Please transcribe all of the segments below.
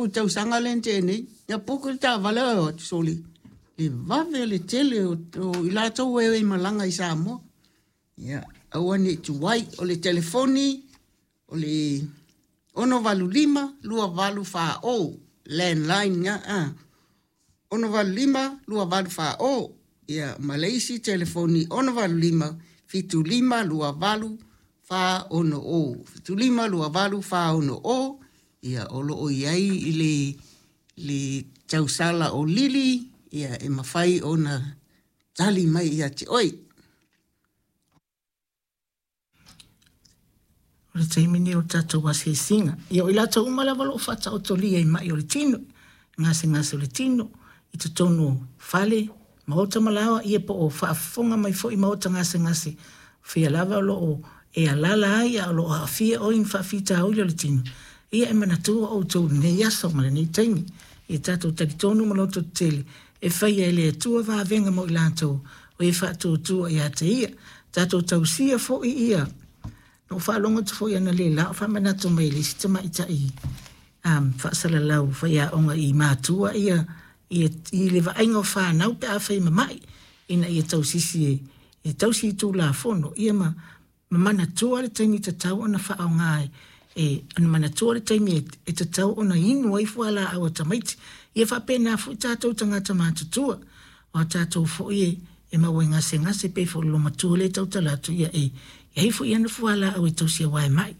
tupu i le tausaga lea na tea nei, na puku le taavale ae o atu sole, le vave le tele o, o i latou e o malaga i Samoa. Ia, aua ne i tuai. O le telefoni, o le 685 2840, landline nya, a. 685 2840. Ia, ma le isi telefoni 685 75 28 460. 75 28 460. Ia, o lo o i ai i le, le tausala o Lili, ia, e mafai ona tali mai ia te oe. O le taimi lenei o le tatou asiasiga. Ia o i latou uma lava o lo o faataotolia i mai o le tino, gasegase o le tino, i totonu o fale, maota ma laoa, ia po o faafofoga mai foi maota gasegase, o fea lava o lo o e alaala ai a o lo o aafia oe i ni faafitauli o le tino, ia e manatua outou i lenei aso ma lenei taimi. Ia tatou talitonu ma lototetele, e faia e le Atua vavega mo i latou o e faatuatua ia te Ia. Tatou tausia foi ia Na ou faalogo atu foi analeila o faamanatu mai e le isi tamaitai um, faasalalau faiaoga i matua ia, ia i le vaaiga o fanau pe afai e mama'i ina ia tausisi e, e tausi i tulafono ia ma, ma manatua le taimi tatau ona faaaoga e, e ona manatua le taimi e, e tatau ona inu ai fualaau a tamaiti. Ia faapena foi tatou tagata matutua. O a tatou foi e, e maua i gasegase pei foi o le olomatua lea e tautala atu, ia e i ai foi ana fualaau e tausi aua e ma'i,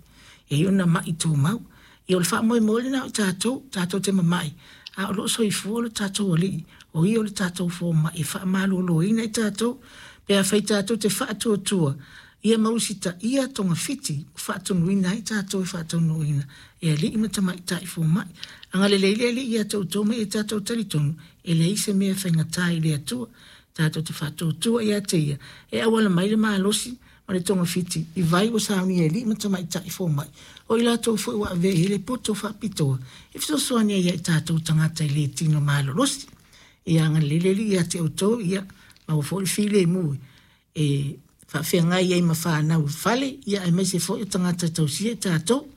e i ai ona ma'i tumau. Ia o le faamoemoe lena o tatou, tatou te mamai, a o lo o soifua lo tatou Alii, o Ia o le tatou fomai e faamaloloina i tatou, pe afai tatou te faatuatua, ia ma usitaia togafiti ua faatonuina ai tatou e faataunuuina e alii ma tamaitai fomai. Agalelei le Alii ia te outou ma ia tatou talitonu, e leai se mea e faigata i le Atua. Tatou te faatuatua ia te Ia e auala mai le malosi ma le togafiti i vai ua saunia e alii ma tamaitai fomai, o i latou foi ua avea i ai le poto faapitoa e fesoasoani ai ia i tatou tagata e le tino malolosi. Ia agalelei le Alii ia te outou, ia maua foi le filemu e faafeagai ai ma fanau i fale, ia aemaise foi o tagata e tausia i tatou.